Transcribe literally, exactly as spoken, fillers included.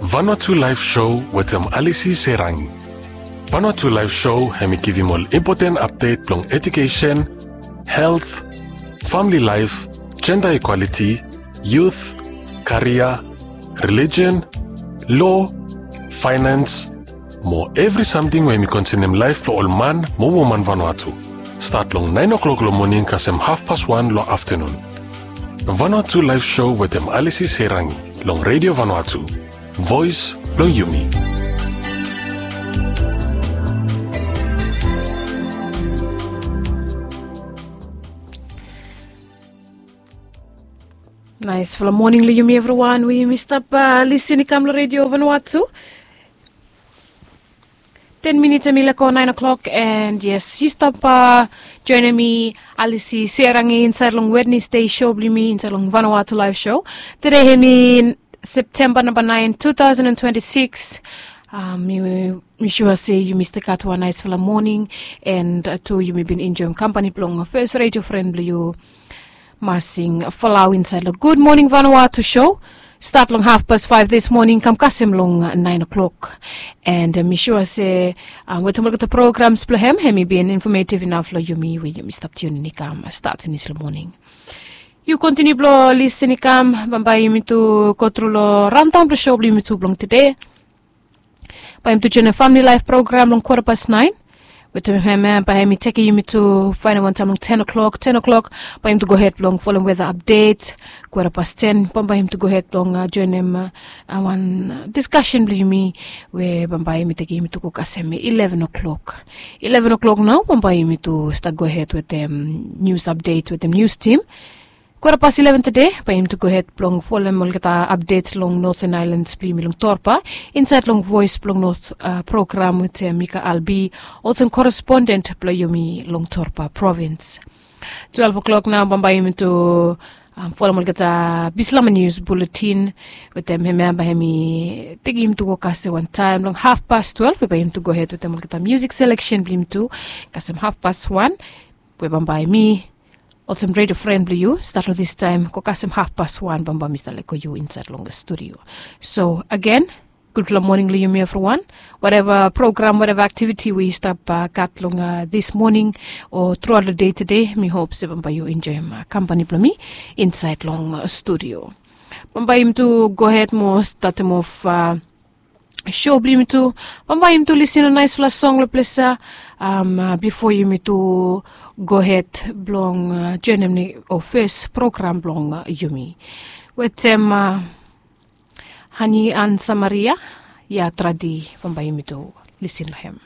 Vanuatu Live Show wetem Alisi Serangi. Vanuatu Live Show hemi givim ol impoten apdet blong edukesen, helt, famili laef, jenda ikwaliti, yut, karia, relijen, lo, faenans, mo evri samting we hemi konsenem laef blong ol man mo woman Vanuatu. Stat long naen oklok long moning kasem hafpas wan long aftanun. Vanuatu Live Show wetem Alisi Serangi long Redio Vanuatu, voes blong yumi. Naesfala moning long yumi evriwan we yumi stap lisin i kam long Redio Vanuatu. Ten minits hemi lego naen oklok, and yes, yu stap joenem mi, Alisi Serangi, insaed long Wednesday show blong yumi insaed long Vanuatu Live Show. Tede hemi Septemba namba naen, two thousand and twenty-six. Mi sua se yumi stil gat wan naesfala moning, and tu yumi bin enjoem kampani blong fes redio fren blong yu, Masing Falau, insaed long Good Morning Vanuatu show. Stat long hafpas faef dis moning kam kasem long naen oklok. And mi sua se wetem olgeta programs blong hem, hemi bin infamativ inaf long yumi we yumi stap tiunin i kam stat finis long moning. Yu kontiniu blong lisin i kam, bambae yumi tu go tru long raondaon blong show blong yumi tu blong tede. Bae yumi tu joenem famili laef program long kwata pas naen. Wetem hem ya bae hemi tekem yumi tu faenem wantaem long ten oklok. Ten oklok bae yumi tu gohed blong folem weta apdet. Kwata pas ten bambae yumi tu gohed blong joenem wan diskasen blong yumi, we bambae hemi tekem yumi tu go kasem ileven oklok. Ileven oklok nao bambae yumi tu stat gohed wetem nius apdet wetem nius tim. Kwata pas ileven tede bae yumi tu gohed blong folem olgeta apdet long Noten Aelans blong yumi long Torba, insaed long Voes blong Not program wetem Mika Albi, olsem koresponden blong yumi long Torba provins. Twelef oklok nao bambae yumi tu folem olgeta Bislama nius buletin. Wetem hem ya bae hemi tekem yumi tu go kasem wantaem long hafpas twelef we bae yumi tu gohed wetem olgeta miusik seleksen blong yumi tu kasem hafpas wan, we bambae mi, olsem redio fren blong yu, stat long distaem go kasem hafpas wan bambae mi stap lego yu insaed long studio. So agen, gudfala moning long yumi evriwan. Wateva program, wateva aktiviti we yu stap gat long dis moning o truaot long dei tede, mi hop se bambae yu enjoem kampani blong mi insaed long studio. Bambae yumi tu gohed mo statem of show blong yumi tu. Bambae yumi tu lisin long naesfala song long ples ya bifo yumi tu gohed blong joenem ni o fes program blong yumi wetem Hani an Samaria, ya tradi. Bambae yumi tu lisin long hem.